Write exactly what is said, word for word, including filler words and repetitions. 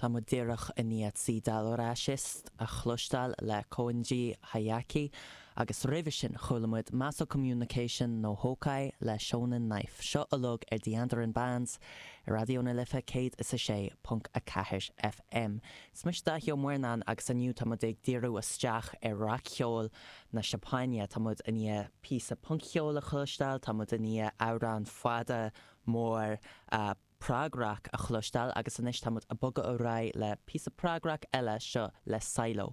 Tá muid díreach i ndiaidh Sidalracist a chloisteáil le Konji Hayaki agus roimhe sin chuala muid Maso Communication no Houkai le Shonen Knife. Seo uilig ar The Andaran Bands ar Raidió na Life céad is a sé ponc a ceathair FM. Is mise Dáithí Ó Muirneáin agus inniu tá muid ag díriú isteach ar rac-cheol na Seapáine tá muid i ndiaidh píosa punc-cheol a chloisteáil, tá muid i ndiaidh amhrán fada mór uh, prog-rock a chloisteáil agus anois tá muid ag bogadh ar aghaidh le píosa prog-rock eile seo le Silo.